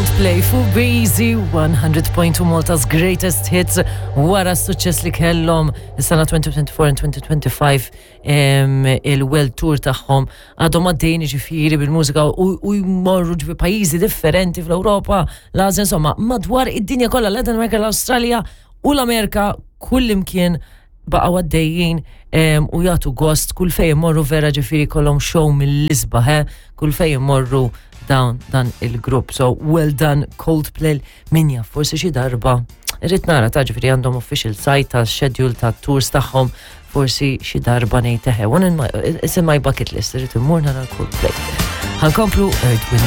Coldplay fuq Breezy 100.2 Malta's Greatest Hits wara s-suċċess li kellhom is-sena 2024 and 2025 il-World Tour tagħhom għadhom għaddejjin ġifieri bil-mużika u jmorru ġifi pajjiżi differenti fl-Ewropa, l-Asja, insomma, madwar id-dinja kollha, Latin America, l-Awstralja u l-Amerika kullimkien baqgħu għaddejjin u jagħtu gost kull fejn imorru vera ġifieri kollhom show mill-isbaħ, eh, kull fejn imorru dawn dan il-grupp. So well done Coldplay min jaf forsi xi darba irrid nara ta' ġifieri għandhom official site ta' schedule ta' tours tagħhom forsi xi darba ngħid eħe. One in my, it's in my bucket list, irrid immur nara Coldplay. Ħankomplu Earth, Wind